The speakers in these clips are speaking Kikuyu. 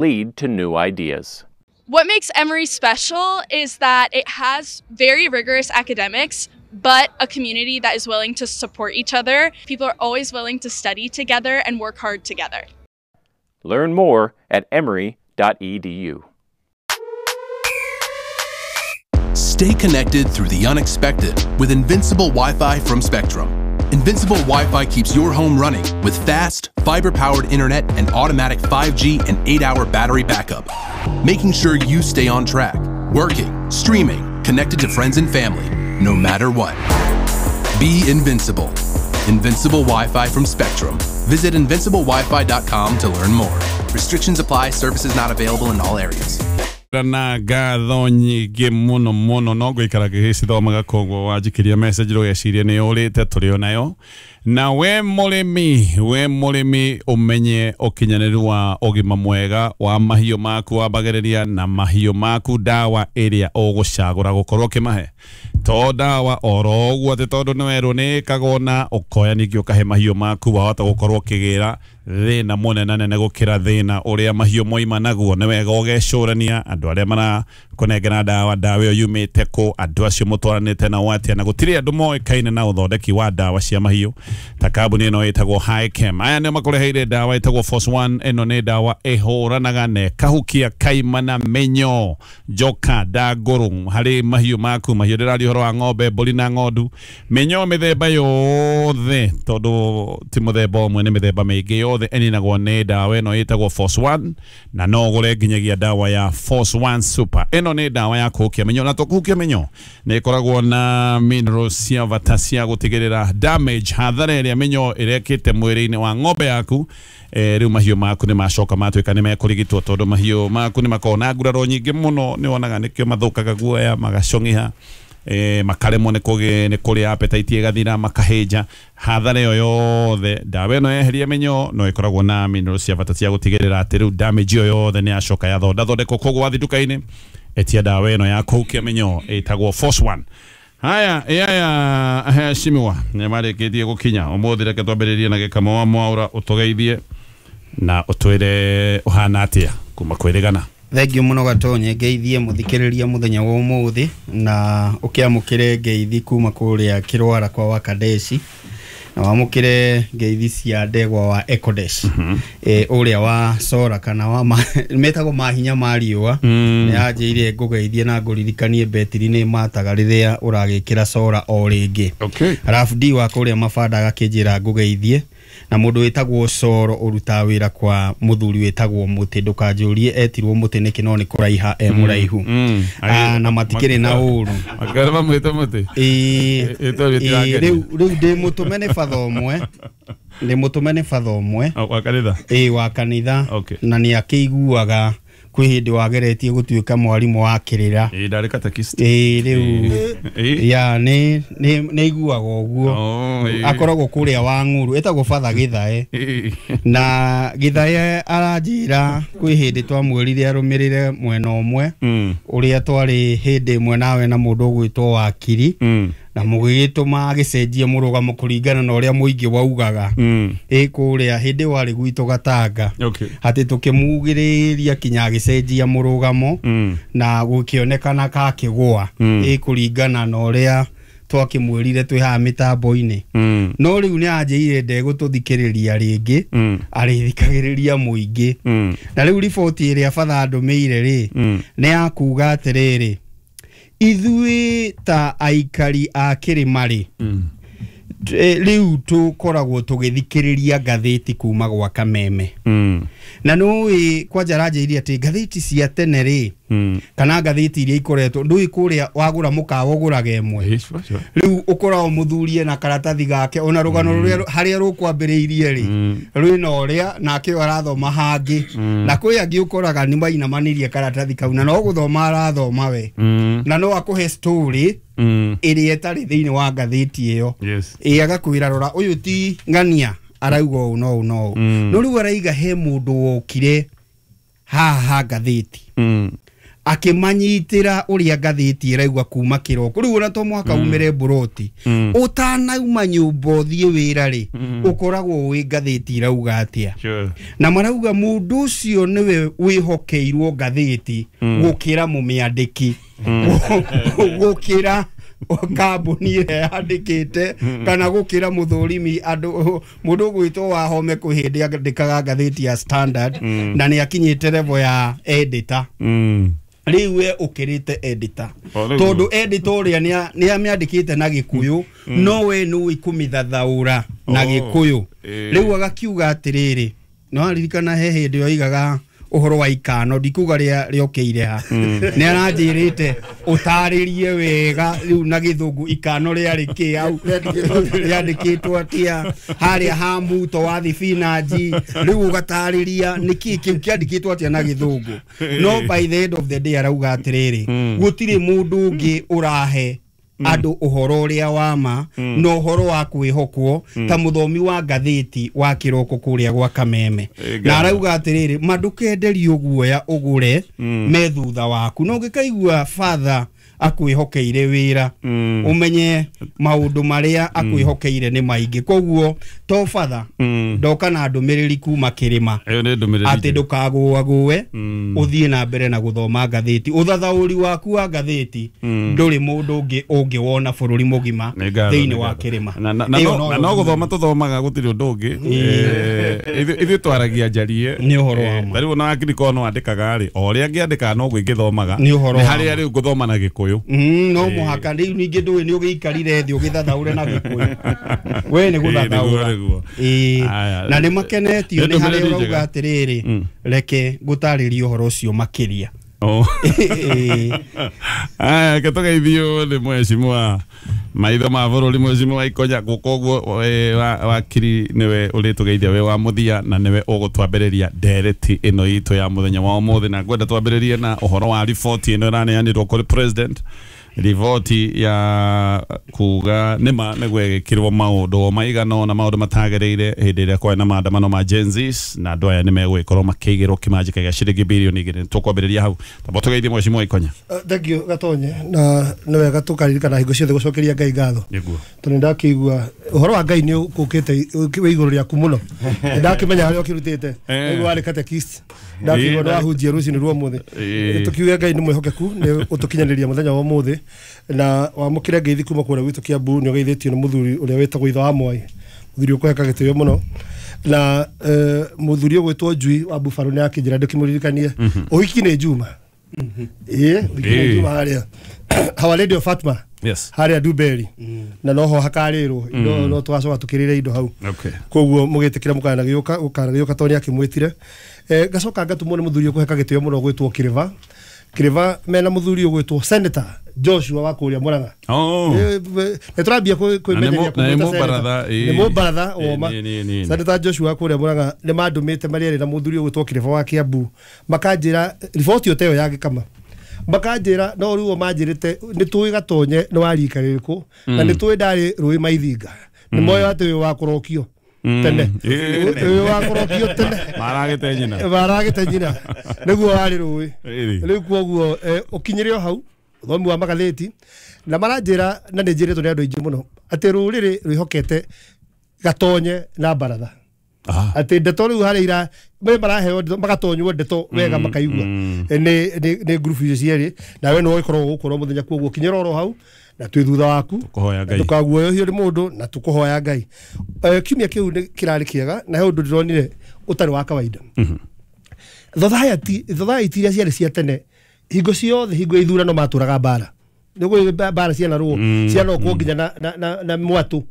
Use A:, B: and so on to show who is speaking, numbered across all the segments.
A: Lead to new ideas.
B: What makes Emory special is that it has very rigorous academics, but a community that is willing to support each other. People are always willing to study together and work hard together.
A: Learn more at emory.edu.
C: Stay connected through the unexpected with Invincible Wi-Fi from Spectrum. Invincible Wi-Fi keeps your home running with fast, fiber-powered internet and automatic 5G and 8-hour battery backup, making sure you stay on track, working, streaming, connected to friends and family, no matter what. Be invincible. Invincible Wi-Fi from Spectrum. Visit invinciblewifi.com to learn more. Restrictions apply. Services not available in all areas.
D: Na ngatho nyingĩ mũno mũno no ngũikara ngĩgĩcithomaga koguo wanjikiria message ndũgecirie nĩ ũrĩte tũrĩ o nayo. Na we mũrĩmi ũmenye ũkinyanĩru wa ũgima mwega wa mahiũ maku, wambagĩrĩria na mahiũ maku ndawa ĩrĩa ũgũcagũra gũkorwo ũkĩmahe. To ndawa oro ũguo atĩ tondũ nĩ werwo nĩ ĩkagwo na ũkoya ningĩ ũkahe mahiũ maku, wahota gũkorwo ũkĩgĩra thĩna mũnene nene gũkĩra thĩna ũrĩa mahiũ moima naguo. Nĩ wega ũgecũrania andũ arĩa marakũnengera ndawa, ndawa ĩyo yumĩte kũ, andũ acio mũtwaranĩte nao atĩa, na gũtirĩ andũ moĩkaine na ũthondeki wa ndawa cia mahiũ ta kambuni ĩno ĩtagwo Hikem. Aya nĩo makũreheire ndawa ĩtagwo Force One. Ĩno nĩ ndawa ĩhũranaga na ĩkahukia kaimana, mĩnyoo, njoka, ndangũrũ harĩ mahiũ maku. Mahiũ ndĩraria ũhoro wa ng'ombe, mbũri na ng'ondu, mĩnyoo mĩthemba yothe, tondũ ti mũthemba ũmwe, nĩ mĩthemba mĩingĩ yothe ĩninagwo nĩ ndawa ĩno ĩtagwo Force One, na no ũgũre nginyagia ndawa ya Force One Super. Ĩno nĩ ndawa ya kũhukia mĩnyoo, na to kũhukia mĩnyoo, nĩ ĩkoragwo na minerals cia bata cia gũtigĩrĩra damage, hathara ĩrĩa mĩnyoo ĩrekĩte mwĩrĩ-inĩ wa ng'ombe yaku. Rĩu mahiũ maku nĩ macoka matuĩka nĩ mekũrigitwo, tondũ mahiũ maku nĩ makoragwo na nguraro nyingĩ mũno, nĩ wonaga nĩkĩo mathũkaga guoya, magacong'iha, makaremwo nĩ kũrĩa, appetite ĩgathira, makahĩnja. Hathara ĩyo yothe ndawa ĩno yeheria mĩnyoo no ĩkoragwo na minerals cia bata cia gũtigĩrĩra atĩ rĩu damage ĩyo yothe nĩ yacoka yathondathondekwo. Koguo wathiĩ nduka-inĩ etia ndawa ĩno ya kũhukia mĩnyoo ĩtagwo Force One. Haya, yaya heshimiwa nĩ marĩkĩtie gũkinya ũmũthĩ, reke twambĩrĩrie na Gĩkamo wa Mwaũra, ũtũgeithie na ũtwĩre ũhana atĩa kuma kwĩrĩgana.
E: Thengiũ mũno Gatonye, ngeithie mũthikĩrĩria mũthenya wa ũmũthĩ na ũkĩamũkĩre ngeithi kuma kũrĩa Kĩrwara kwa Wakadeci, na wamũkĩre ngeithi cia ndegwa wa Ekodesh, ũrĩa wa Sora kana wa metagwo mahinya ma riũa. Nĩ anjĩire ngũgeithie na ngũririkanie betiri nĩ mataga rĩrĩa ũragĩkĩra Sora o rĩngĩ. Arabu D wa kũrĩa Mabanda agakĩnjĩra ngũgeithie, na mũndũ wĩtagwo Soro ũrutaga wĩra kwa mũthuri wĩtagwo Mũtĩ, ndũkanjũrie etirwo Mũtĩ nĩkĩ, no nĩ kũraiha e mũraihu. Na matikĩrĩ na ũru.
D: Makĩra mamwĩte Mũtĩ.
E: Rĩu ndĩ mũtũme nĩ batha ũmwe, ndĩ mũtũme nĩ batha ũmwe
D: wa kanitha.
E: Wa kanitha. Na nĩ akĩiguaga kwĩ hĩndĩ wageretie gũtuĩka mwarimũ wa kĩrĩra.
D: Ndarĩ catechist.
E: Rĩu ya nĩ iguaga ũguo. Akoragwo kũrĩa wa Ng'uru, ĩtagwo Father Gĩthae. Na Gĩthae aranjĩra kwĩ hĩndĩ twamwĩrire arũmĩrĩre mwena ũmwe ũrĩa twarĩ hĩndĩ ĩmwe nawe na mũndũ ũgwĩtwo Wakiri, na mũgĩgĩtũma agĩcenjie mũrũgamo kũringana na ũrĩa mũingĩ waugaga. Kũrĩa hĩndĩ warĩ gwitũ Gatanga, atĩ tũkĩmugĩrĩria kinya agĩcenjia mũrũgamo, na gũkĩonekana kakĩgũa, kũringana na ũrĩa twakĩmwĩrire twĩ haha mĩtambo-inĩ. No rĩu nĩ anjĩire ndegũtũthikĩrĩria rĩngĩ, arĩthikagĩrĩria mũingĩ. Na rĩu riboti ĩrĩa batha andũmĩire rĩ, nĩ ya kuga atĩrĩrĩ, ithuĩ ta aikari a kĩrĩma rĩ, rĩu tũkoragwo tũgĩthikĩrĩria ngathĩti kuma gwa Kameme. Na nũĩ kwanja aranjĩire atĩ ngathĩti cia tene rĩ, kana ngathĩti iria ikoretwo, ndũĩ kũrĩa wagũra mũkawa ũgũraga ĩmwe, rĩu ũkoragwo mũthurie na karatathi gake, ona rũgano rũrĩa harĩa rũkwambĩrĩirie rĩ, rwĩna ũrĩa nake ũyũ arathoma hangĩ, na kwĩ angĩ ũkoraga nĩ mainamanirie karatathi kau na no gũthoma arathoma we, na no akũhe story ĩrĩa ĩtarĩ thĩinĩ wa ngathĩti ĩyo. Agakwĩra rora ũyũ ti ng'ania arauga ũũ no ũũ no ũũ. No rĩu araiga he mũndũ wokire haha ngathĩti Akĩmanyitĩra ũrĩa ngathĩti ĩraigua kuma kĩroko. Rĩu ona to mũhaka umĩre mburoti. Ũtanauma nyũmba ũthiĩ wĩra rĩ, ũkoragwo wĩ ngathĩti ĩrauga atĩa. Na marauga mũndũ ũcio nĩwe wĩhokeirwo ngathĩti gũkĩra mũmĩandĩki, gũkĩra kambuni ĩrĩa yandĩkĩte, kana gũkĩra mũthũrimi andũ. Mũndũ ũgwĩtwo Wahome kwĩ hĩndĩ andĩkaga ngathĩti ya Standard na nĩ akinyĩte level ya editor. Rĩu we ũkĩrĩte editor, tondũ editor ũrĩa nĩ amĩandĩkĩte na Gĩkũyũ, no we nĩũĩ kũmĩthathaũra na Gĩkũyũ. Rĩu agakiuga atĩrĩrĩ, no aririkana he hĩndĩ oigaga ũhoro wa ikano, ndikuga rĩokĩire ha, nĩ aranjĩrĩte ũtarĩrie wega rĩu na Gĩthũngũ ikano rĩarĩ kĩ hau, rĩandĩkĩtwo atĩa harĩa ha muto wa thibinanji. Rĩu ũgatarĩria nĩkĩ kĩu kĩandĩkĩtwo atĩa na Gĩthũngũ. No by the end of the day arauga atĩrĩrĩ, gũtirĩ mũndũ ũngĩ ũrahe andũ ũhoro ũrĩa wa ma na ũhoro wa kwĩhokwo ta mũthomi wa ngathĩti wa kĩroko kũrĩa gwa Kameme. Na arauga atĩrĩrĩ, ma ndũkenderio guoya ũgũre me thutha waku, no ũngĩkaigua father akwĩhokeire wĩra, ũmenye maũndũ marĩa akwĩhokeire nĩ maingĩ. Koguo to father ndoka na ndũmĩrĩri kuma kĩrĩma atĩ ndũkagũagũe, ũthiĩ na mbere na gũthoma ngathĩti. Ũthathaũri waku wa ngathĩti ndũrĩ mũndũ ũngĩ ũngĩwona bũrũri mũgima thĩinĩ wa kĩrĩma.
D: Na no gũthoma tũthomaga, gũtirĩ ũndũ ũngĩ. Ithuĩ twaragia njarie
E: nĩ ũhoro wa ma.
D: Rĩu ona wakiri korwo no andĩkaga rĩ, o ũrĩa angĩandĩkaga noguo ingĩthomaga. Nĩ harĩa rĩu ngũthoma na Gĩkũyũ.
E: No mũhaka rĩu ningĩ ndũĩ nĩ ũgĩikarire thĩ ũgĩthathaũre na Gĩkũyũ. We nĩ gũthathaũra. Na nĩ makenetio nĩ harĩa ũrauga atĩrĩrĩ, reke ngũtarĩrie ũhoro ũcio makĩria.
D: Aya, ke tũgeithio nĩ mheshimiwa maitho ma bũrũri, mheshimiwa Ikonya. Gũka ũguo wakiri nĩwe ũrĩtũgeithia wĩ wa mũthia, na nĩwe ũgũtwambĩrĩria ndereti ĩno itũ ya mũthenya wa ũmũthĩ. Na ngwenda twambĩrĩrie na ũhoro wa riboti ĩno ĩraneanirwo kũrĩ president, riboti ya kuga nĩma nĩgwekĩrwo maũndũ maigana na maũndũ matagĩrĩire hĩndĩ ĩrĩa kwarĩ na maandamano ma Gen Zs, na andũ aya nĩmegũgĩkorwo makĩigĩrwo kĩmanjĩka gĩa ciringi birioni 2. Tũkwambĩrĩria hau, tamba tũgeithie mheshimiwa Ikonya.
F: Thank you Gatonye, na nĩ wega tũkaririkana hingo ciothe gũcokeria Ngai ngatho, tondũ nĩndakĩigua ũhoro wa Ngai nĩ ũkũkĩte wĩ igũrũ rĩaku mũno. Nĩndakĩmenya harĩa ũkĩrutĩte, nĩguo warĩ catechist, ndakĩigua nĩ wahunjia rũcinĩ rwa ũmũthĩ. Tũkiuge Ngai nĩ mwĩhokeku, nĩ ũtũkinyanĩria mũthenya wa ũmũthĩ, na wamũkĩre ngeithi kuma kũrĩa gwitũ Kiambu. Nĩ ũgeithĩtio nĩ mũthuri ũrĩa wĩtagwo Ithe wa Mwai, mũthuri ũkũheka gĩtĩo mũno, na mũthuri ũgwĩtwo Njui wa Buffalo nĩ akĩnjĩra ndĩkĩmũririkanie ũhiki nĩ Juma. Ĩĩ, ũhiki nĩ Juma harĩa Our Lady of Fatima, harĩa Duberi, na noho hakarĩrwo indo, no tũgacoka tũkĩrĩre indo hau. Koguo mũgĩtĩkĩra mũkanagĩũka ũkanagĩũka tondũ nĩ akĩmwĩtire. Ngacoka ngatũmwo nĩ mũthuri ũkũheka gĩtĩo mũno ũgwĩtwo Kĩrĩva. Kĩrĩva mena mũthuri ũgwĩtwo Senator Joshua wa kũrĩa Murang'a. Nĩ tũrambia kwĩmenyeria kũmwĩta nĩ mũbaratha woma. Senator Joshua wa kũrĩa Murang'a nĩ mandũmĩte marĩ erĩ na mũthuri ũgwĩtwo Kĩrĩva wa Kiambu, makanjĩra riboti ĩyo ya gĩkama, makanjĩra no rĩu o manjĩrĩte nĩ tũĩ Gatonye nĩ wa rika rĩrĩkũ, na nĩ tũĩ ndarĩ rũĩ Maithinga, nĩ moĩ atĩ wĩ wa kũrokio tene, wĩ wa kũrokio tene,
D: maragĩte nyina,
F: maragĩte nyina nĩguo warĩ rũĩ. Rĩu koguo ũkinyĩre o hau ũthomi wa magathĩti, na maranjĩra, na nĩ njĩrĩtwo nĩ andũ aingĩ mũno atĩ rũrĩrĩ rwĩhokete Gatonye na baratha, atĩ ndeto rĩu harĩa ira maraheo magatonywo ndeto wega makaigua nĩ ngurubu icio cierĩ, nawe nĩwe ũgĩkorwo gũkũ mũthenya. Koguo kinyĩra oro hau na twĩ thutha waku, ndũkaguoyohio nĩ mũndũ, na tũkũhoya Ngai. Kiumia kĩu nĩ kĩrarĩ kĩega, na he ũndũ ndĩronire ũtarĩ wa kawaida. Thothaiti iria ciarĩ cia tene, hingo ciothe hingo ya ithurano matũraga mbara, nĩguo mbara cianarũo cianokwo nginya na mwatũ,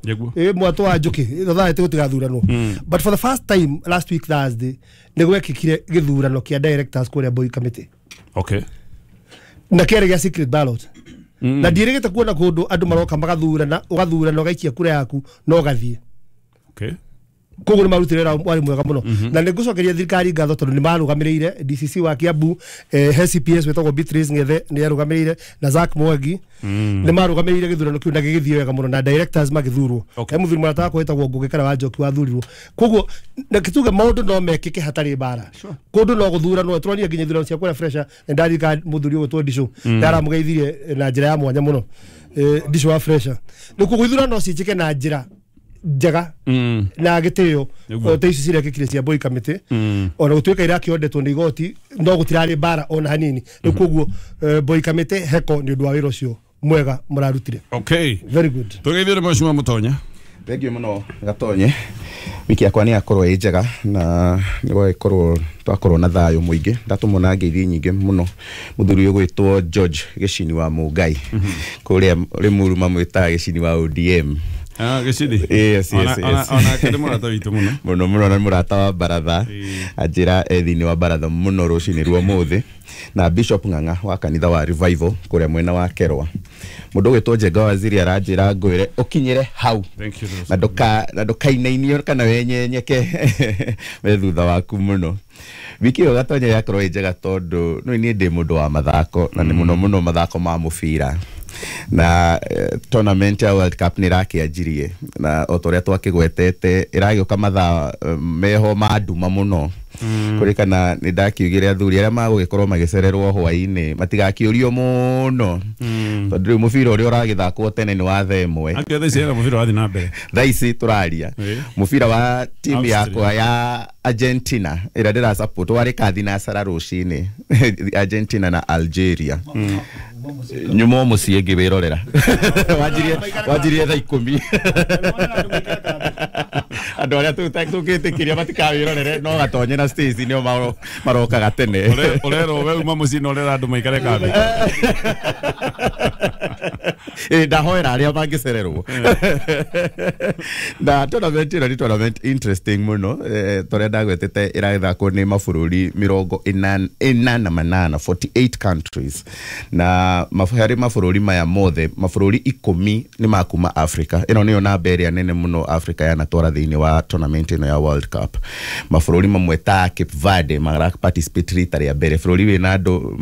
F: mwatũ wa njũkĩ, thothaiti gũtigathuranwo. But for the first time last week Thursday nĩ gwekĩkire gĩthurano kĩa directors kũrĩa Boi Committee. Na kĩarĩ gĩa secret ballot. Na ndiĩrĩgĩte kuona kũndũ andũ maroka magathurana, ũgathurana ũgaikia kura yaku na ũgathiĩ. Koguo nĩ marutire wĩra warĩ mwega mũno. Na nĩ ngũcokeria thirikari ngatho tondũ nĩ marũgamĩrĩire DCC wa Kiambu, HCPS wĩtagwo Beatrice Ngethe nĩ arũgamĩrĩire na Zack Mwangi nĩ marũgamĩrĩire gĩthurano kĩu na gĩgĩthiĩ wega mũno na directors magĩthurwo. He mũthuri mũrata wakwa wĩtagwo Ngũgĩ kana wa Njoki wathurirwo. Koguo na kĩtuge maũndũ no mekĩke hatarĩ mbara. Kũndũ no gũthuranwo tũronire nginya ithurano cia kũrĩa fresher na ndarika mũthuri ũgwĩtwo Ndicũ ndaramũgeithirie na njĩra ya mwanya mũno Ndicũ wa fresher. Rĩu koguo ithurano ciĩkĩke na njĩra njega na gĩtĩo ta ici cirekĩkire cia Mboi Kamĩtĩ ona gũtuĩka irakĩondetwo nĩ igoti no gũtirarĩ mbara ona hanini. Rĩu koguo Mboi Kamĩtĩ heko nĩ ũndũ wa wĩra ũcio mwega mũrarutire.
D: Okay,
F: very good.
D: Tũgeithio nĩ Mheshimiwa Mũtonya.
G: Thank you mũno Gatonye. Wiki yakwa nĩ yakorwo ĩ njega na nĩ gwagĩkorwo twakorwo na thayũ mũingĩ. Ndatũmwo na ngeithi nyingĩ mũno mũthuri ũyũ gwĩtwo George Gĩcini wa Mũngai kũrĩa Rĩmuru mamwĩtaga Gĩcini wa ODM.
D: Gĩcini.
G: Yes, yes, yes.
D: Ona kĩrĩ mũrata witũ mũno.
G: Mũno mũno na mũrata wa baratha. Anjĩra e thĩinĩ wa baratha mũno rũcinĩ rwa ũmũthĩ. Na Bishop Ng'ang'a wa kanitha wa Revival kũrĩa mwena wa Kerwa. Mũndũ ũgwĩtwo Njenga Waziri aranjĩra ngwĩre ũkinyĩre hau. Na ndũkainainio kana wenyenyeke we thutha waku mũno. Wiki ĩyo Gatonya yakorwo ĩ njega tondũ no niĩ ndĩ mũndũ wa mathako na nĩ mũno mũno mathako ma mũbira. Na tournament ya World Cup nĩ ĩrakĩanjirie na o ta ũrĩa twakĩgwetete ĩragĩũka mathaa meho ma nduma mũno. Kũrĩkana nĩ ndakiugire athuri arĩa magũgĩkorwo magĩcererwo hwaĩ-inĩ matigakĩũrio mũno tondũ rĩu mũbira ũrĩa ũragĩthakwo tene nĩ wa thaa ĩmwe.
D: Akĩo thaa ici hena mũbira wathiĩ na mbere.
G: Thaa ici tũraria mũbira wa timu yakwa ya Argentina ĩrĩa ndĩra support warĩ kathinacara rũcinĩ Argentina na Algeria. Nyuma mũciĩ ngĩwĩrorera. Wanjirie thaa 10. Andũ arĩa tũgĩtĩkĩria matikawĩrorere no Gatonye na Stacy nĩo marokaga tene.
D: Ũrerwo we uma mũciĩ na ũrera andũ maikare kambĩ.
G: Ndahoera arĩa mangĩcererwo. Na tournament ĩno nĩ tournament interesting mũno torĩa ndagwetete ĩragĩthakwo nĩ mabũrũri 48 48 countries. Na harĩ mabũrũri maya mothe mabũrũri 10 nĩ ma kuma Africa. Ĩno nĩyo namba ĩrĩa nene mũno Africa yanatwara thĩinĩ wa tournament ĩno ya World Cup. Mabũrũri mamwe ta Cape Verde mara participate rita rĩa mbere, bũrũri wĩna andũ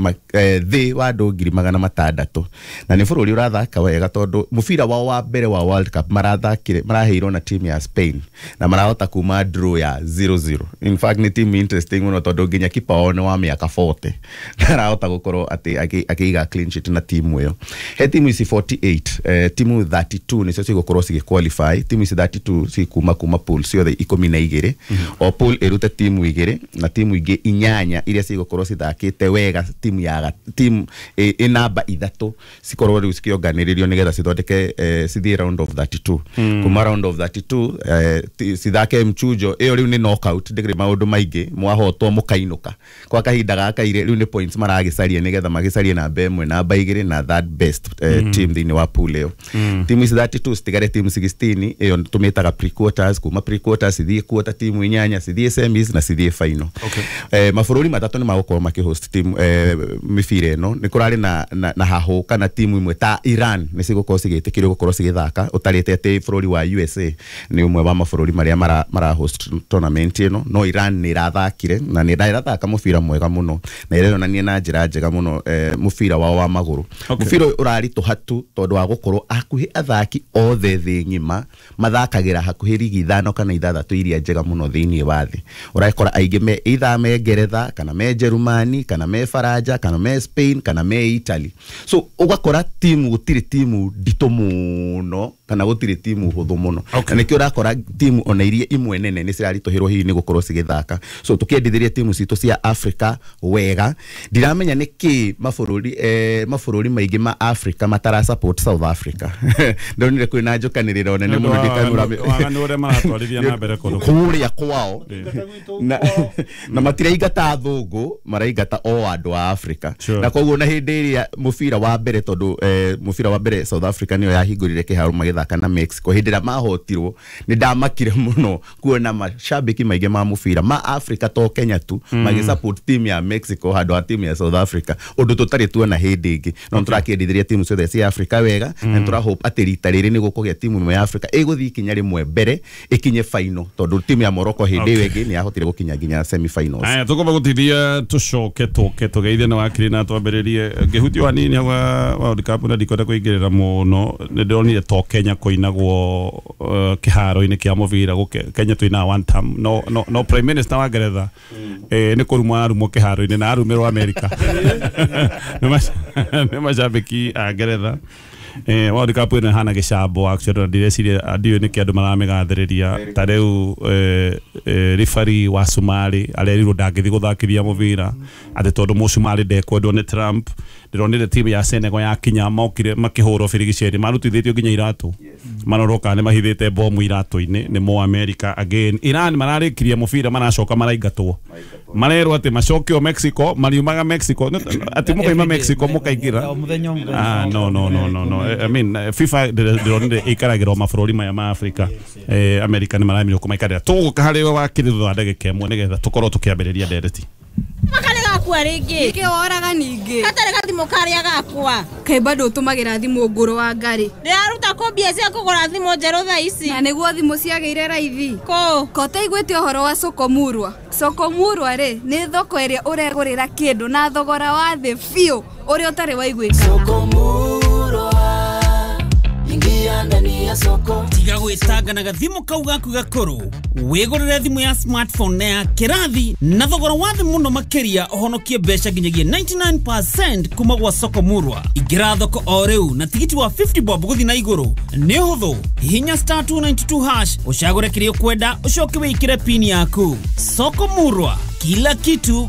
G: thĩ wa andũ 600,000 na nĩ bũrũri ũrathaka wega tondũ mũbira wao wa mbere wa World Cup marathakire maraheirwo na team ya Spain na marahota kuma draw ya 0-0. In fact nĩ team interesting mũno tondũ nginya kipa wao nĩ wa mĩaka 40 na arahota gũkorwo atĩ akĩiga clean sheet na timu ĩyo. He timu ici 48 timu 32 nĩcio cigũkorwo cigĩ qualify. Timu ici 32 cikuma kuma pool ciothe 12. O pool ĩrute timu 2 na timu ingĩ 8 iria cigũkorwo cithakĩte wega timu ya timu ĩ namba 3 cikorwo rĩu cikĩonganĩrĩrio nĩgetha cithondeke cithiĩ round of 32. Kuma round of 32 cithake mchujo ĩyo rĩu nĩ knockout ndĩkĩrĩ maũndũ maingĩ mwahotwo mũkainũka kwa kahinda gaka rĩu nĩ points maragĩcaria nĩgetha magĩcarie namba 1 namba 2 na third best team thĩinĩ wa pool ĩyo. Timu ici 32 citigare timu 16 ĩyo tũmĩtaga pre-quarters. Kuma pre-quarters cithiĩ quarter timu 8 cithiĩ semis na cithiĩ final. Mabũrũri matatũ nĩ magũkorwo makĩhost team mĩbira ĩno. Nĩ kũrarĩ na hahũ kana timu imwe ta Iran nĩ cigũkorwo cigĩtĩkĩrio gũkorwo cigĩthaka ũtarĩte atĩ bũrũri wa USA nĩ ũmwe wa mabũrũri marĩa mara host tournament ĩno. No Iran nĩ ĩrathakire na nĩ ĩrathaka mũbira mwega mũno na ĩronania na njĩra njega mũno mũbira wao wa magũrũ. Mũbira ũyũ ũraritũha tu tondũ wa gũkorwo hakuhĩ athaki othe thĩ ng'ima mathakagĩra hakuhĩ rigi 5 kana 6 iria njega mũno thĩinĩ wa thĩ. Ũrakora aingĩ me either me Ngeretha kana me Jerumani kana me Faranja kana me Spain kana me Italy. So ũgakora timu gũtirĩ timu nditũ mũno kana gũtirĩ timu hũthũ mũno. Na nĩkĩo ũrakora timu ona iria imwe nene nĩ ciraritũhĩrwo hihi nĩ gũkorwo cigĩthaka. So tũkĩendithĩria timu citũ cia Africa wega. Ndiramenya nĩkĩ mabũrũri maingĩ ma Africa matara support South Africa. Ndonire kwĩna njũkanĩrĩro nene mũno ndĩkanũra
D: waganu ũrĩa maratwarithia na mbere kũndũ
G: kũrĩa kwao na matiraingata athũngũ maraingata o andũ a Africa. Na koguo na hĩndĩ ĩrĩa mũbira wa mbere tondũ mũbira wa Wa mbere South Africa nĩyo yahingũrire kĩharo magĩthaka na Mexico. Hĩndĩ ĩrĩa mahotirwo nĩ ndamakire mũno kuona mashabiki maingĩ ma mũbira ma Africa to Kenya tu magĩ support team ya Mexico handũ ha team ya South Africa, ũndũ tũtarĩ tuona hĩndĩ ĩngĩ. No nĩtũrakĩendithirie timu ciothe cia Africa wega, na nĩtũra hope atĩ rita rĩrĩ nĩ gũkũgĩa timu ĩmwe ya Africa ĩgũthiĩ ikinya rĩmwe mbere ĩkinye final, tondũ timu ya Morocco hĩndĩ ĩyo ĩngĩ nĩ yahotire gũkinya nginya semi finals.
D: Aya, tũkwamba gũtithia tũcoke tũke tũgeithie na wakiri na twambĩrĩrie ngĩhutio hanini hau World Cup na ndikwenda kũingĩrĩra mũno. Nĩ ndĩronire to Kenya kũinagwo kĩharo-inĩ kĩa mũbira gũke Kenya twĩna one term no Prime Minister wa Ngeretha nĩ kũrumwo ararumwo kĩharo-inĩ na arumĩrwo America nĩ macambĩki a Ngeretha. World Cup ĩno ĩhana gĩcambo actually, na ndireciria ndiũĩ nĩkĩ andũ maramĩgathĩrĩria. Ta rĩu referee wa Somali arerirwo ndangĩthiĩ gũthakithia mũbira atĩ tondũ mũcumarĩ ndekwendwo nĩ Trump. Ndĩronire timu ya Senegal yakinya mokire makĩhũrwo birigiceri, marutithĩtio nginya iratũ, marorwo kana nĩ mahithĩte bomu iratũ-inĩ nĩ mo America. Again Iran mararĩkirie mũbira maracoka maraingatwo, marerwo atĩ macokio Mexico, mariumaga Mexico atĩ mũkaima Mexico mũkaingĩra.
H: O mũthenya o mũthenya.
D: Ah, no, no, no, no, no. I mean, FIFA ndĩronire ĩikaragĩra o mabũrũri maya ma Afrika. America nĩ maramirwo kũmaikarĩra. Tũgũka harĩ we wakiri thutha wa ndagĩka ĩmwe nĩgetha tũkorwo tũkĩambĩrĩria ndereti.
I: Makarĩ gakua rĩngĩ.
J: Nĩkĩ woraga ningĩ?
I: Gatarĩ gathimũ karĩa gakwa.
J: Kaĩ bado ũtũmagĩra thimũ ngũrũ wa ngarĩ?
I: Ndĩraruta kũ mbia cia kũgũra thimũ njerũ thaa ici?
J: Na nĩguo thimũ ciagĩire raithi.
I: Kũ?
J: Ko ũtaiguĩte ũhoro wa Sokomurwa? Sokomurwa rĩ, nĩ thoko ĩrĩa ũregũrĩra kĩndũ na thogora wa thĩ biũ ũrĩa ũtarĩ waiguĩkana.
H: Tiga gwĩtanga na gathimũ kau gaku gakũrũ, wĩgũrĩre thimũ ya smartphone na ya kĩrathi na thogora wa thĩ mũno makĩria, ũhonokie mbeca nginyagia 99% kuma gwa Soko Murwa. Ingĩra thoko o rĩu na tigiti wa 50 bob gũthiĩ na igũrũ. Nĩ ũhũthũ, hihinya star 292 hash ũcagũre kĩrĩa ũkwenda, ũcoke wĩkĩre pin yaku. Soko Murwa, kila kitu.